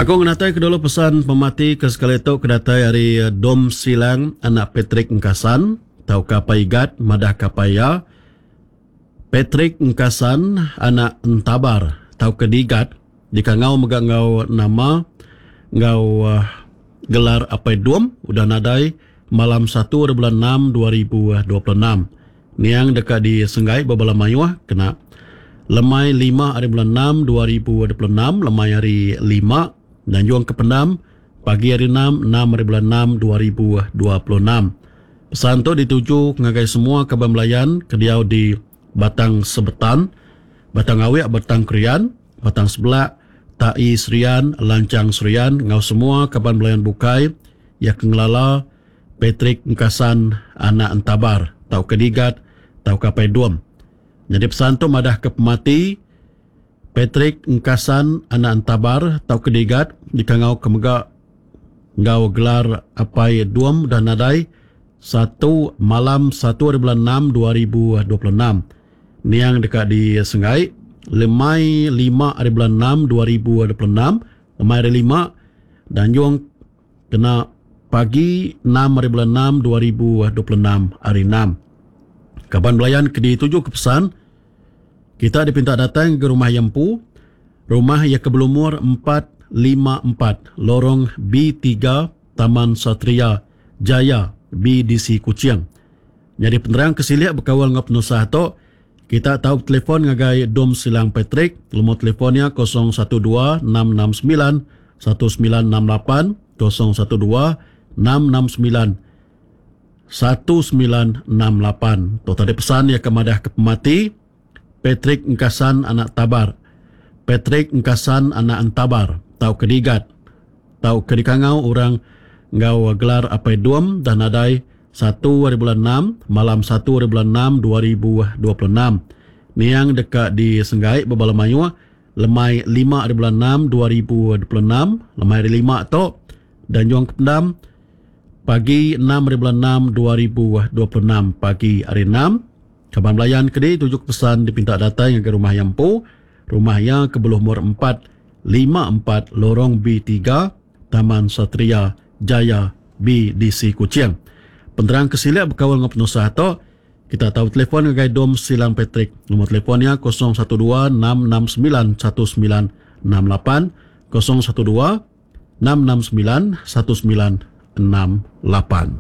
Aku ngenatai ke dulu pesan pemati ke sekali tu ke datai ari Dom Silang anak Patrick Engkasan tauka Apai Igat madah ke apai iya Patrick Engkasan anak Entabar tauka Digat dikangau mega enggau nama enggau gelar Apai Dom udah nadai malam satu ari bulan enam 2026. Niang deka disenggai ba bala mayuh kena lemai lima ari bulan enam 2026 lemai hari lima nganjung ke pendam pagi hari enam enam ari bulan enam 2026. Pesan tu dituju ngagai semua kaban belayan ke diau di Batang Sebetan, Batang Awik Batang Krian, Batang Sebelak, Tai Serian, Lanchang Serian enggau semua kaban belayan bukai iya ke ngelala Patrick Engkasan anak Entabar tauka Digat tauka Apai Dom. Nyadi pesan tu madahka pemati Patrick Engkasan anak Entabar tauka Digat dikangauka mega enggau gelar Apai Dom udah nadai satu malam satu hari bulan enam 2026. Niang deka disenggai lemai lima hari bulan enam 2026 lemai hari lima danjung Kena pagi enam hari bulan enam 2026 hari enam. Kaban belayan ke dituju ke pesan kita dipinta datang ke rumah iya empu. Rumah iya ke belumur 454 Lorong B3 Taman Satria Jaya BDC Kuching. Nyadi penerang ke silik bekaul enggau penusah tu, kita tau betelefon ngagai Dom Silang Patrick, lumur telefon iya 012 669 1968, 012 669 1968. Tu tadi pesan iya ke madah ke pemati Patrick Engkasan anak Tabar. Patrick Engkasan anak Entabar tauka Digat tauka dikangau orang enggau gelar Apai Dom dah nadai satu hari bulan enam malam satu hari bulan enam 2026. Niang deka disenggai bebala mayuh lemai lima hari bulan enam 2026 lemai hari lima tu Danjung Kependam pagi enam hari bulan enam 2026 pagi hari enam. Kaban belayan ke dituju ke pesan dipinta datai ngagai rumah iya empu. Rumah iya ke belumur 454 Lorong B3, Taman Satria Jaya BDC Kuching. Penerang ke silik bekaul enggau penusah tu, kita tau betelefon ngagai Dom Silang Patrick. Nombor telefon iya 012 669 1968, 012 669 1968.